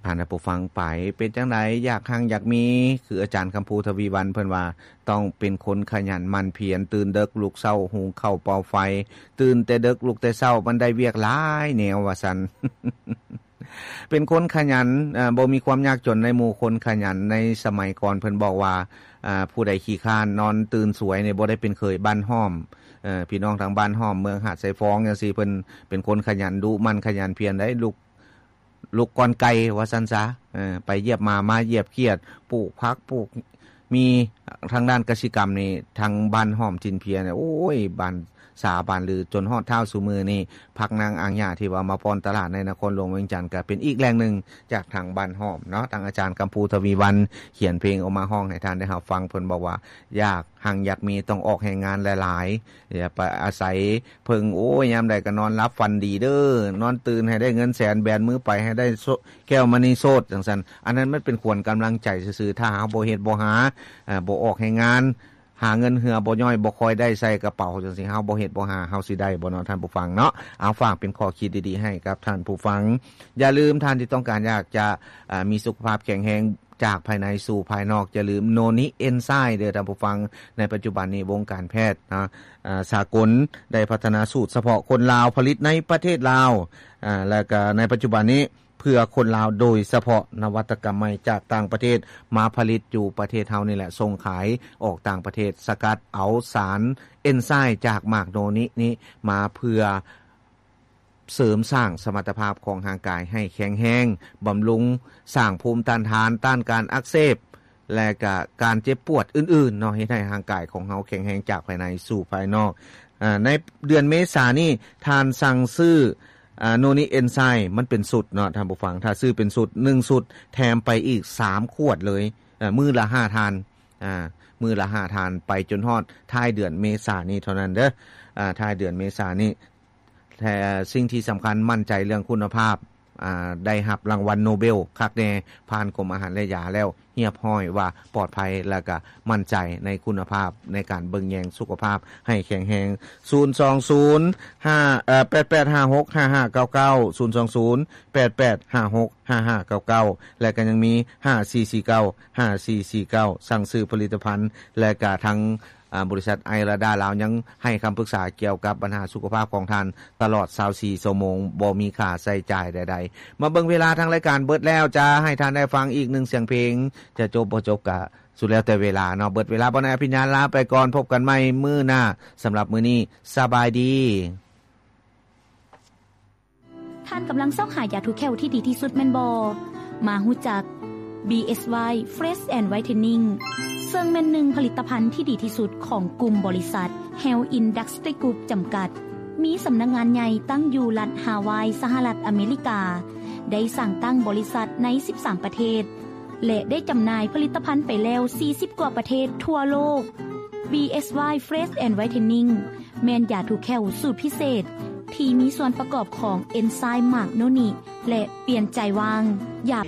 ທ່ານຜູ້ຟັງໄປ ເປັນຈັ່ງໃດ ຢາກຮັ່ງຢາກມີ ຄືອາຈານຄຳພູ ທະວີວັນ ເພິ່ນວ່າ ຕ້ອງເປັນຄົນຂະຫຍັນໝັ່ນພຽນ ຕື່ນເດິກລຸກເຊົ້າ ຫຸງເຂົ້າເປົ່າໄຟ ຕື່ນແຕ່ເດິກລຸກແຕ່ເຊົ້າ ມັນໄດ້ວຽກຫຼາຍແນວວ່າຊັ້ນ. ເປັນຄົນຂະຫຍັນ ເອີ ບໍ່ມີຄວາມຍາກຈົນໃນໝູ່ຄົນຂະຫຍັນ. ໃນສະໄໝກ່ອນເພິ່ນບອກວ່າ ອາ ຜູ້ໃດຂີ້ຄ້ານນອນຕື່ນສວຍນີ້ ບໍ່ໄດ້ເປັນເຂີຍບ້ານຫ້ອມ. ເອີ ພີ່ນ້ອງທາງບ້ານຫ້ອມ ເມືອງຫາດຊາຍຟອງຈັ່ງຊີ້ ເພິ່ນເປັນຄົນຂະຫຍັນດຸໝັ່ນຂະຫຍັນພຽນໄດ໋ ລຸກ ລຸກກ່ອນໄກ່ວ່າຊັ້ນຊະ. ເອີ ໄປຢຽບໝາ ມາຢຽບຂຽດ ປູກຜັກ ປູກ ມີທາງດ້ານກະສິກຳນີ້ ທາງບ້ານຫ້ອມຈິນເພຍນີ້ ໂອ້ຍ ບ້ານສາບ້ານລື ຈົນຮອດທ້າວຊຸມື້ນີ້ ຜັກນາງອ່າງຫຍ້າທີ່ວ່າມາປ້ອນຕະຫຼາດໃນນະຄອນຫຼວງວຽງຈັນ ກະເປັນອີກແຫຼ່ງໜຶ່ງຈາກທາງບ້ານຫ້ອມເນາະ. ທາງອາຈານຄຳພູ ທະວີວັນ ຂຽນເພງອອກມາຮ້ອງໃຫ້ທ່ານໄດ້ຮັບຟັງ ເພິ່ນບອກວ່າ ຢາກຮັ່ງຢາກມີ ຕ້ອງອອກແຮງງານຫຼາຍໆ ຢ່າໄປອາໄສເພິ່ງ ໂອ້ຍ ຍາມໃດກໍນອນຫຼັບຝັນດີເດີ້ ນອນຕື່ນໃຫ້ໄດ້ເງິນແສນ ແບນມືໄປໃຫ້ໄດ້ໂຊ ແກ້ວມະນີໂຊດ ຈັ່ງຊັ້ນ. ອັນນັ້ນມັນເປັນຂວັນກຳລັງໃຈຊື່ໆ ຖ້າເຮົາບໍ່ເຮັດບໍ່ຫາ ເອີ ບໍ່ອອກແຮງງານ ຫາເງິນເຫື່ອບໍ່ຍ້ອຍ ບໍ່ຄ່ອຍໄດ້ໃສ່ກະເປົາ ຈັ່ງຊີ້ ເຮົາບໍ່ເຮັດບໍ່ຫາ ເຮົາຊິໄດ້ບໍ່ເນາະ ທ່ານຜູ້ຟັງເນາະ? ເອົາ ຝາກເປັນຂໍ້ຄິດດີໆໃຫ້ກັບທ່ານຜູ້ຟັງ. ຢ່າລືມ ທ່ານທີ່ຕ້ອງການຢາກຈະ ເອີ ມີສຸຂະພາບແຂງແຮງ ຈາກພາຍໃນສູ່ພາຍນອກ ຢ່າລືມໂນນິເອັນໄຊເດີ້ທ່ານຜູ້ຟັງ. ໃນປັດຈຸບັນນີ້ ວົງການແພດນະ ເອີ ສາກົນໄດ້ພັດທະນາສູດສະເພາະຄົນລາວ ຜະລິດໃນປະເທດລາວ ເອີ ແລ້ວກະໃນປັດຈຸບັນນີ້ ເພື່ອຄົນລາວໂດຍສະເພາະ. ນະວັດຕະກຳໃໝ່ຈາກຕ່າງປະເທດມາຜະລິດຢູ່ປະເທດເຮົານີ້ແຫຼະ ສົ່ງຂາຍອອກຕ່າງປະເທດ. ສະກັດເອົາສານເອັນໄຊຈາກໝາກໂນນິນີ້ມາເພື່ອ ເສີມສ້າງສະມັດຕະພາບຂອງຮ່າງກາຍໃຫ້ແຂງແຮງ, ບຳລຸງສ້າງພູມຕ້ານທານ, ຕ້ານການອັກເສບ ແລະກະການເຈັບປວດອື່ນໆເນາະ, ເຮັດໃຫ້ຮ່າງກາຍຂອງເຮົາແຂງແຮງຈາກພາຍໃນສູ່ພາຍນອກ. ອາ ໃນເດືອນເມສານີ້ ທ່ານສັ່ງຊື້ ອາ ໂນນິເອັນໄຊ ມັນເປັນຊຸດເນາະທ່ານຜູ້ຟັງ, ຖ້າຊື້ເປັນຊຸດ ໜຶ່ງຊຸດແຖມໄປອີກສາມຂວດເລີຍ, ເອີ ມື້ລະຫ້າທ່ານ, ອາ ມື້ລະຫ້າທ່ານ ໄປຈົນຮອດທ້າຍເດືອນເມສານີ້ເທົ່ານັ້ນເດີ້, ອາ ທ້າຍເດືອນເມສານີ້. ແຕ່ສິ່ງທີ່ສຳຄັນ ໝັ້ນໃຈເລື່ອງຄຸນນະພາບ, ອາ ໄດ້ຮັບລາງວັນໂນເບວຄັກແນ່, ຜ່ານກົມອາຫານ ແລະ ຢາແລ້ວຮຽບຮ້ອຍວ່າປອດໄພ ແລະ ກະໝັ້ນໃຈໃນຄຸນນະພາບໃນການເບິ່ງແຍງສຸຂະພາບໃຫ້ແຂງແຮງ. ສູນສອງສູນ ຫ້າ ເອີ ແປດແປດຫ້າຫົກຫ້າຫ້າເກົ້າເກົ້າ ສູນສອງສູນ ແປດແປດຫ້າຫົກຫ້າຫ້າເກົ້າເກົ້າ ແລະ ກະຍັງມີ ຫ້າສີ່ສີ່ເກົ້າ ຫ້າສີ່ສີ່ເກົ້າ ສັ່ງຊື້ຜະລິດຕະພັນ ແລະ ກະທາງ ອາ ບໍລິສັດໄອລາດາລາວຍັງໃຫ້ຄຳປຶກສາກ່ຽວກັບບັນຫາສຸຂະພາບຂອງທ່ານຕະຫຼອດຊາວສີ່ຊົ່ວໂມງ ບໍ່ມີຄ່າໃຊ້ຈ່າຍໃດໆ. ມາເບິ່ງເວລາທາງລາຍການເບິດແລ້ວ, ຈະໃຫ້ທ່ານໄດ້ຟັງອີກໜຶ່ງສຽງເພງ, ຈະຈົບບໍ່ຈົບກະສຸດແລ້ວແຕ່ເວລາເນາະ. ເບິດເວລາ ບ່າວນາຍອະພິນຍາລາໄປກ່ອນ, ພົບກັນໃໝ່ມື້ໜ້າ. ສຳລັບມື້ນີ້ ສະບາຍດີ. ທ່ານກຳລັງຊອກຫາຢາຖູແຂ້ວທີ່ດີທີ່ສຸດແມ່ນບໍ່? ມາຮູ້ຈັກ ບີເອສວາຍ Fresh and Whitening ເຊິ່ງແມ່ນໜຶ່ງຜະລິດຕະພັນທີ່ດີທີ່ສຸດຂອງກຸ່ມບໍລິສັດ Health Industry Group ຈຳກັດ, ມີສຳນັກງານໃຫຍ່ຕັ້ງຢູ່ລັດຮາວາຍ ສະຫະລັດອາເມລິກາ, ໄດ້ສ້າງຕັ້ງບໍລິສັດໃນສິບສາມປະເທດ ແລະ ໄດ້ຈຳໜ່າຍຜະລິດຕະພັນໄປແລ້ວສີ່ສິບກວ່າປະເທດທົ່ວໂລກ. ບີເອສວາຍ Fresh and Whitening ແມ່ນຢາຖູແຂ້ວສູດພິເສດ ທີ່ມີສ່ວນປະກອບຂອງເອັນໄຊມາກໂນນິ ແລະ ປ່ຽນໃຈວ່າງຢາ